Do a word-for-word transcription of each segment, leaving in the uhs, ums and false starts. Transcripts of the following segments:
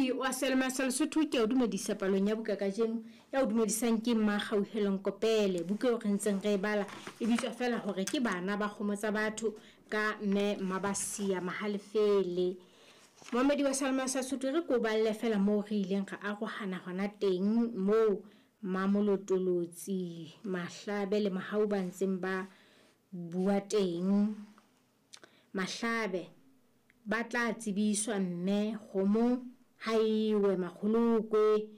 Momamedi wa Selma sa Lesotho, ke o dumedisa palong ya buka kajeno. Ya o dumedisang ke Mmakgauhelong Kopele. Buka eo re ntseng re e bala e bitswa feela hore ke Bana ba Kgomo Tsa Batho ka Mme Mmabasia Mahalefele. Momamedi wa Selma sa Lesotho, re ko balle feela moo re ileng ra arohana hona teng, moo Mamolotolotsi, Mahlabe le Mahau ba ntseng ba bua teng. Mahlabe ba tla tsebiswa mme kgomo ha ewe makgolokwe,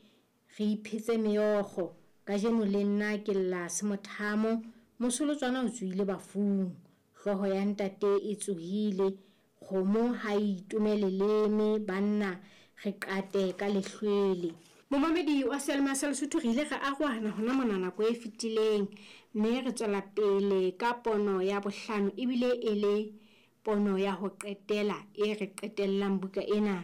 re iphetse meokgo. Kajeno le nna ke lla semothamo, mosolotswana o tsohile bafung, hlooho ya ntate e tsohile, kgomo ha e itome leleme, banna re qate ka lehlwele. Momamedi wa Selma sa Lesotho, re ile ra arohana hona mona nako e fetileng, mme re tswela pele ka pono ya bohlano, ebile e le pono ya ho qetela e re qetellang buka ena.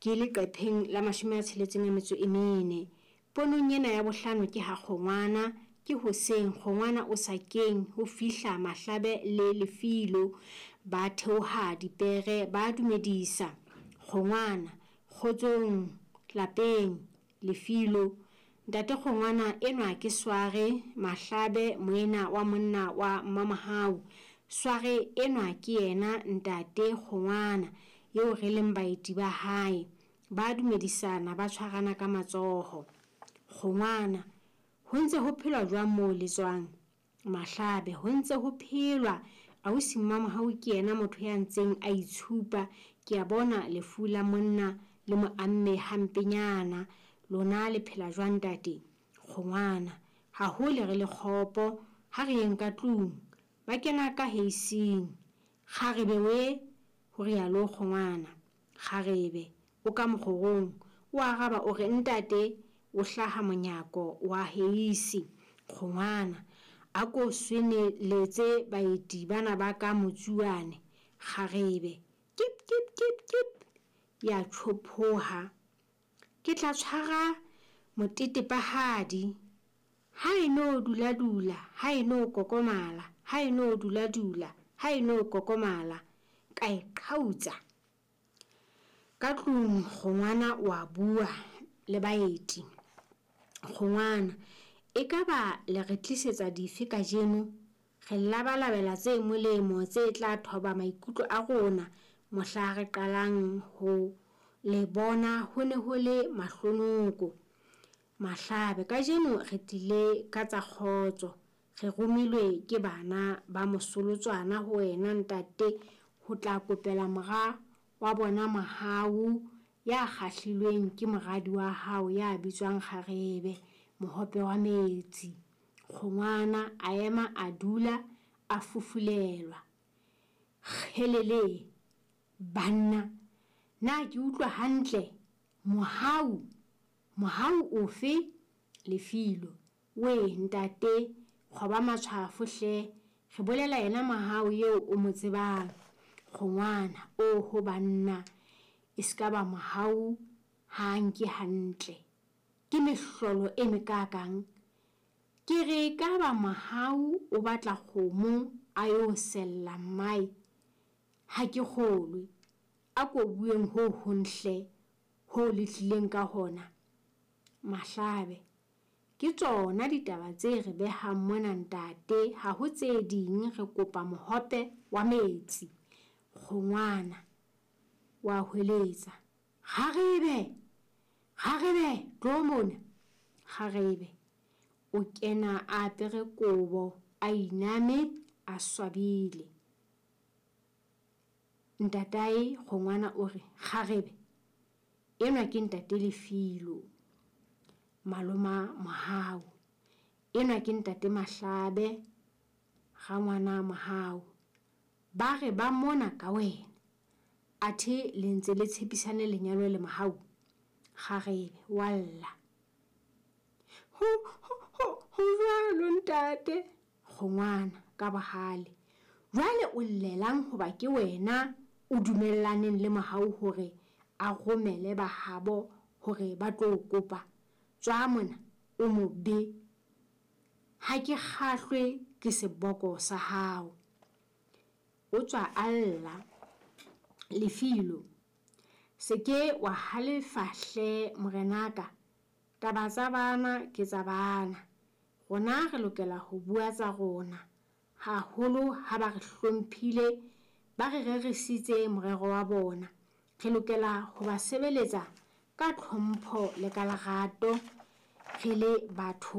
Ke leqepheng la mashome a tsheletseng a metso e mene. Ponong ena ya bohlano ke ha kgongwana, ke hoseng kgongwana o sakeng ho fihla Mahlabe le Lefilo, ba theoha dipere ba dumedisa. Kgongwana, kgotsong lapeng. Lefilo, ntate kgongwana enwa ke Sware Mahlabe, moena wa monna wa Mmamohau. Sware enwa ke yena ntate kgongwana eo re leng baeti ba hae. Ba dumedisana ba tshwarana ka matsoho. Kgongwana, ho ntse ho phelwa jwang moo le tswang? Mahlabe, ho ntse ho phelwa. Ausi Mmamohau ke yena motho ya ntseng a itshupa. Ke a bona lefu la monna le mo amme hampenyana. Lona le phela jwang ntate? Kgongwana, ha hole re le kgopo, ha re yeng ka tlung. Ba kena ka heising. Kgarebe we, ho rialo kgongwana. Kgarebe o ka mokgorong, o araba o re ntate o hlaha monyako wa heisi. Kgongwana, a ko sweneletse baeti bana ba ka motsuane. Kgarebe kip kip kip kip, ya tjhophoha. Ke tla tshwara motetepahadi. Ha e no dula dula, ha e no kokomala, ha e no dula dula, ha e no kokomala, ka e qhautsa. Ka tlung kgongwana wa bua le baeti. Kgongwana, ekaba le re tlisetsa dife kajeno? Re labalabela tse molemo tse tla thoba maikutlo a rona mohla re qalang ho le bona ho ne ho le mahlonoko. Mahlabe, kajeno re tlile ka tsa kgotso. Re romilwe ke bana ba mosolotswana ho wena ntate ho tla kopela mora wa bona Mahau ya kgahlilweng ke moradi wa hao ya bitswang Kgarebe, mohope wa metsi. Kgongwana a ema a dula a fufulelwa. Kgelele banna, na ke utlwa hantle? Mohau, Mohau ofe? Lefilo, we ntate, kgoba matshwafo hle, re bolela yena Mahau eo o mo tsebang. Kgongwana, oho banna, e ska ba Mohau ha nke hantle. Ke mehlolo e mekakang. Ke re ka ba Mohau o batla kgomo a yo sella mmae. Ha ke kgolwe. A ko bueng ho hong hle, ho le tlileng ka hona. Mahlabe, ke tsona ditaba tse re behang mona ntate, ha ho tse ding, re kopa mohope wa metsi. Kgongwana wa hweletsa, kgarebe, kgarebe, tlo mona. Kgarebe o kena a apere kobo, a iname, a swabile. Ntatae kgongwana o re, kgarebe enwa ke ntate Lefilo, maloma Mohau. Enwa ke ntate Mahlabe, rangwana Mohau. Ba re ba mona ka wena. Athe le ntse le tshepisane lenyalo le Mohau. Kgarebe wa lla. Ho ho ho ho jwalo ntate. Kgongwana ka bohale. Jwale o llelang hoba ke wena o dumellaneng le Mohau hore a romele bahabo hore ba tlo kopa. Tswa mona o mobe. Ha ke kgahlwe ke seboko sa hao. O tswa a lla. Lefilo, Se ke wa halefa hle morenaka, taba tsa bana ke tsa bana. Rona re lokela ho bua tsa rona, haholo ha ba re hlomphile, ba re rerisitse morero wa bona. Re lokela ho ba sebeletsa ka tlhompho le ka lerato re le batho.